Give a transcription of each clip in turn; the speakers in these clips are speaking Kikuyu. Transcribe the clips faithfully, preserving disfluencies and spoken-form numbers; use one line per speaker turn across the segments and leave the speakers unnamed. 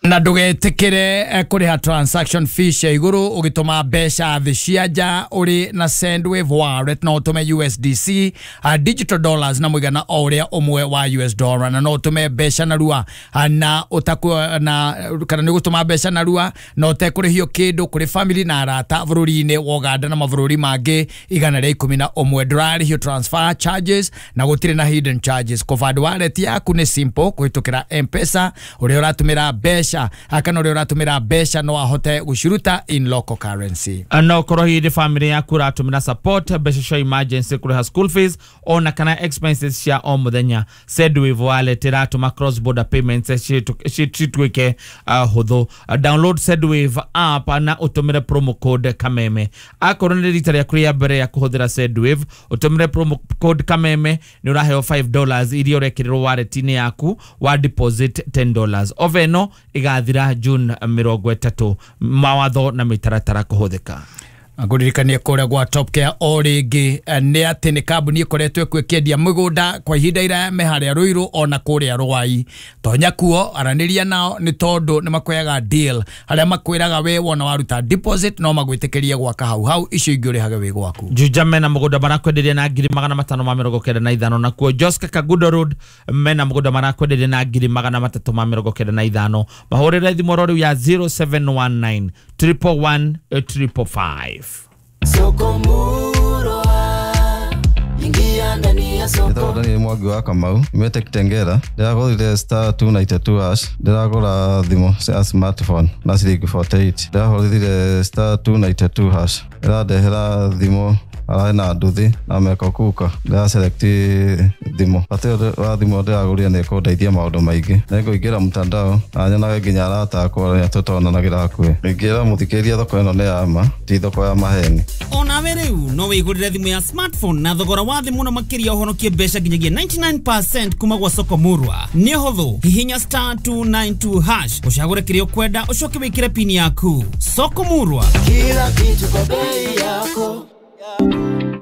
Na ndũgetĩkĩre eh, kũrĩha transaction fee cia igũrũ ũgĩtũma mbeca thĩ cia nja ũrĩ na Sendwave wallet. No ũtũme U S D C, uh, digital dollars, na mũigana o ũrĩa ũmwe wa U S dollar, na no ũtũme mbeca narua uh, na ũtaku na kana nĩ gũtũma mbeca narua na ũtekũrĩhio kĩndũ kũrĩ family na arata bũrũri-inĩ wa Uganda na mabũrũri mangĩ igana rĩa ikũmi na ũmwe. Ndũrarĩhio transfer charges na gũtirĩ na hidden charges. Kũband wallet yaku nĩ simple kũhĩtũkĩra M-Pesa. Ũrĩa ũratũmĩra mbeca kana ũrĩa ũratũmĩra mbeca no ahote gũciruta in local currency.
No korwo hihi nĩ family yaku ũratũmĩra support, mbeca cia emergency, kũrĩha school fees ona kana expenses cia o mũthenya, Sendwave wallet ĩratũma cross border payments cituĩke uh, hũthũ. Uh, download Sendwave app na ũtũmĩre promo code Kameme. Akorwo nĩ rita rĩaku rĩa mbere ya kũhũthĩra Sendwave, ũtũmĩre promo code Kameme nĩ ũraheo five dollars iria ũrekĩrĩrwo wallet-inĩ yaku wa deposit ten dollars. Offer ĩno ĩgathira June mĩrongo ĩtatũ. Mawatho na mĩtaratara kũhũthĩka.
Ngũririkanie kũrĩa gwa Top Care o rĩngĩ eh, nĩ atĩ nĩ kambuni ĩkoretwo ĩkuo ĩkĩendia mĩgũnda kwa ihinda iraya, me harĩa Rũirũ ona kũrĩa Rwai. Tonya kuo, aranĩria nao, nĩ tondũ nĩ makuoyaga deal harĩa makwĩraga we wona waruta deposit no magwĩtĩkĩrie gwaka hau hau, icio ingĩ ũrĩhage wĩ gwaku.
Juja mena mũgũnda marakwenderia na ngiri magana matano ma mĩrongo kenda na ithano. Nakuo Joska Kagudo Road mena mũgũnda marakwenderia na ngiri magana matatũ ma mĩrongo kenda na ithano. Mahũrĩre thimũ oro rĩu ya zero seven one nine triple one triple five.
Soko Murwa, ingia ndani ya soko.
Njĩtagwo Daniel Mwangi wa Kamau, nyumĩte Kitengela. Ndĩragũrire star two nine two hash, ndĩragũra thimũ cia smartphone na ciringi mĩrongo ĩnana na nyanya. Ndĩrahũrire star two nine two hash, ĩrandehera thimũ ararĩ na nduthi na meko kuka. Ndĩra select thimũ. Bata ũyũ wa thimũ ndĩragũrire nĩ ĩkũndeithia maũndũ maingĩ. Nĩngũingĩra mtandao na nyonage nginya arata akwa arĩa tũtonanagĩra hakuhĩ. Ingĩra mũthikĩrĩria, thoko ĩno nĩ ya ma, ti thoko ya maheni.
Onawe rĩu no wĩgũrĩre thimũ ya smartphone na thogora wa thĩ mũno makĩria, ũhonokie mbeca nginyagia mĩrongo kenda na kenda kuma gwa Soko Murwa. Nĩ hũthũ, hihinya star two nine two hash, ũcagũre kĩrĩa ũkwenda, ũcoke wĩkĩre pini yaku. Soko Murwa.
Kila kitu kwa bei yako.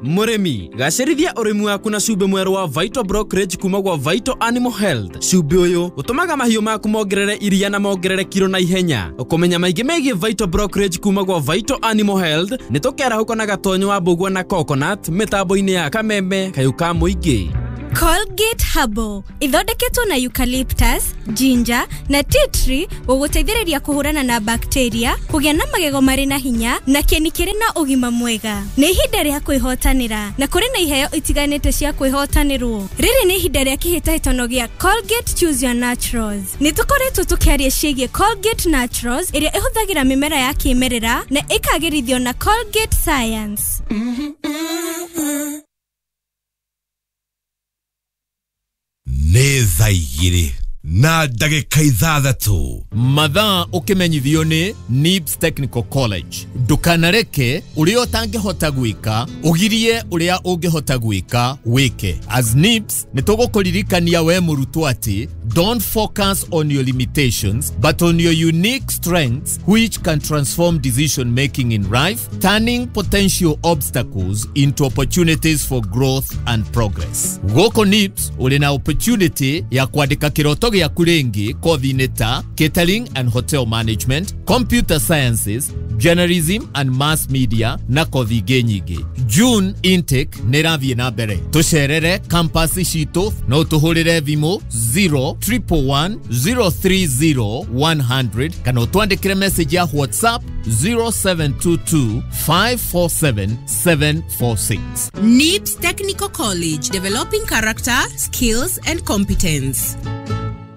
Mũrĩmi, gacĩrithia ũrĩmi waku na cumbĩ mwerũ wa Vital Brokerage kuma gwa Vital Animal Health. Cumbĩ ũyũ ũtũmaga mahiũ maku mongerere iria na mongerere kiro na ihenya. Ũkũmenya maingĩ megiĩ Vital Brokerage kuma gwa Vital Animal Health nĩ tũkerahũka na Gatonyo wa Mbũgua na Coconut mĩtambo-inĩ ya Kameme kayũ ka mũingĩ.
Colgate Herbal ithondeketwo na eucalyptus, ginger na tea tree gũgũteithĩrĩria kũhũrana na bacteria, kũgĩa na magego marĩ na hinya na kĩni kĩrĩ na ũgima mwega. Nĩ ihinda rĩa kwĩhotanĩra na kũrĩ na iheo itiganĩte cia kwĩhotanĩrwo. Rĩrĩ nĩ ihinda rĩa kĩhĩtahĩtano gĩa Colgate Choose Your Naturals. Nĩ tũkoretwo tũkĩaria ciĩgiĩ Colgate Naturals ĩrĩa ĩhũthagĩra mĩmera ya kĩmerera na ĩkagĩrithio na Colgate Science.
Nĩ thaa igĩrĩ na ndagĩka ithathatũ.
Mathaa ũkĩmenyithio nĩ NIBS Technical College. Ndũkanareke ũrĩa ũtangĩhota gwĩka ũgirie ũrĩa ũngĩhota gwĩka wĩke. As NIBS nĩ tũgũkũririkania we mũrutwo atĩ don't focus on your limitations but on your unique strengths, which can transform decision making in life, turning potential obstacles into opportunities for growth and progress. Gũkũ NIBS ũrĩ na opportunity ya kwandĩka kĩroto gĩaku rĩngĩ kothi-inĩ ta catering and hotel management, computer sciences, journalism and mass media na kothi ingĩ nyingĩ. June intake nĩ ĩrathiĩ na mbere. Tũcerere campus citũ, no tũhũrĩre thimũ zero triple one zero three zero one hundred kana ũtwandĩkĩre message ya WhatsApp zero seven two two five four seven seven four six.
NIBS Technical College, developing character, skills, and competence.